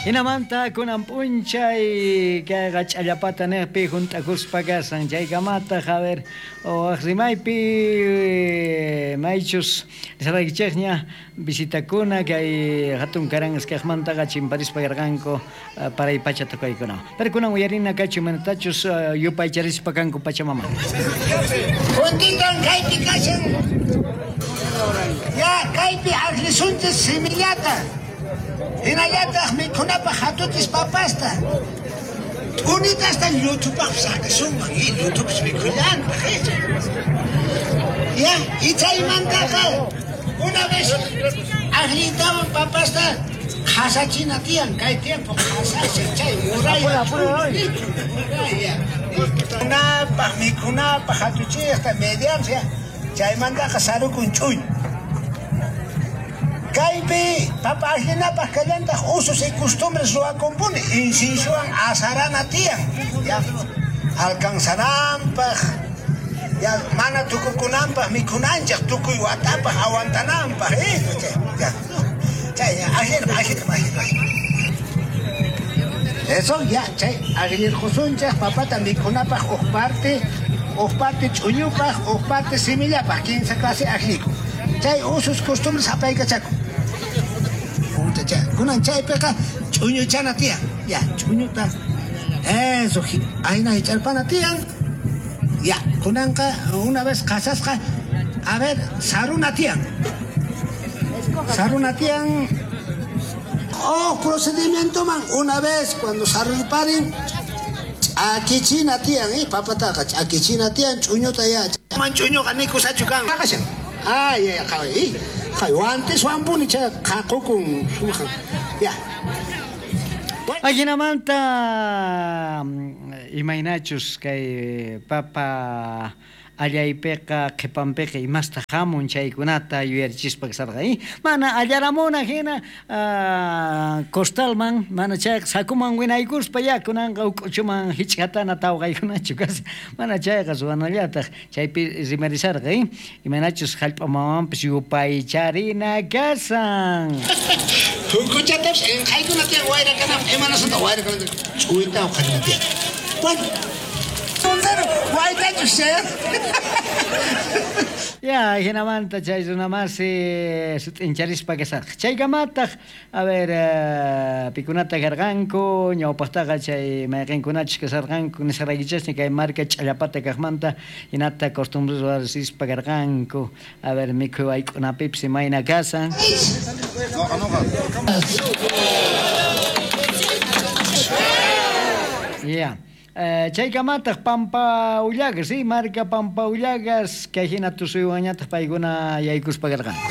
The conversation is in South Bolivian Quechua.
Jinamanta kunan p'unchay kayqa ch'allapata nejpi junt'akuspa kasan chaykamataq a ver waj rimaypi maychus nisaraykichejña visitakuna kay jatun karangas kajmantaqa chimparispa karqanku paray pacha tocaykunawan. Pero kunan uyarina kachu imaynatachus yupaycharispa kanku Pachamamata. Juntitan kaypi kashan. Ya kaypi aklisunchis semillata. Hinallataq mikhunapaq hatuchis papasta. T'unitasta lluthupaqpis saqisunman, y lluthupis mikhullantaq, eh. Ya, y chaymantaqa una vez akliytawan papasta qhasachina tiyan, kay tiempo qhasashan chay muraya muraya. Mikhunapaq, mikhunapaq hatuchiyta mediansia, chaymantaqa sarukun ch'uñu. Kaypi papa aklinapaq kallantaq usos y costumbres ruwakunpuni, inciensowan asarana tiyan, ya alcanzananpaq, ya mana tukukunanpaq mikhunanchej tukuy watapaq aguantananpaq, eh, ya, chay aklina, aklina, aklina. Eso ya, chay aklirqusunchej papata mikhunapaq uj parte ch'uñupaq, uj parte semillapaq, 15 clase akliku. Chay usos costumbres apaykachakun. Kunan chaypiqa ch'uñuchana tiyan. Ya, ch'uñuta. Eso, ayna hich'arpana tiyan. Ya, kunanqa una vez qhasasqa, a ver, saruna tiyan. Saruna tiyan. Oh, procedimiento man, una vez cuando sarurparin, ch'akichina tiyan, papataqa ch'akichina tiyan, ch'uñuta ya. Man ch'uñuqa nikusachu kan. Ay, ay, ay, ay, antes wampuni chay qhaqukun sumaqan. Ya. Ajinamanta imaynachus kay papa allaypiqa qhipanpiqa imasta hamun chaykunata yuyarichispa kasarqa, mana allaramuna hina costalman mana chayqa sakuman winaykuspa ya kunanqa uk'uchuman hich'atana tawqaykunachu kashan mana chayqa ruwanallataq chaypi rimarisarqa, imaynachus jallp'a mamanpis yupaycharina kasan. Hukuchatapis inqaykuna tiyan wayra kananpaq, imanasanta wayra kananpaq ch'uyta uqharina tiyan. Bueno, Ya, jinamanta chay runamasi sut'incharispa kasarqa. Chaykamataq, a ver, pikunata karqanku, ñawpaqtaqa chay mayqinkunachus kasarqanku nisqaraykichasña kay marca ch'allapata kaqmanta hinata costumbres ruwarispa karqanku. A ver, mikhuy wayk'unapipis imayna kasan. Ya. Chaykamataq Pampa Ullagas, sí, marca Pampa Ullagas, kay hina tusuywanñataq paykuna yaykuspa karqanku.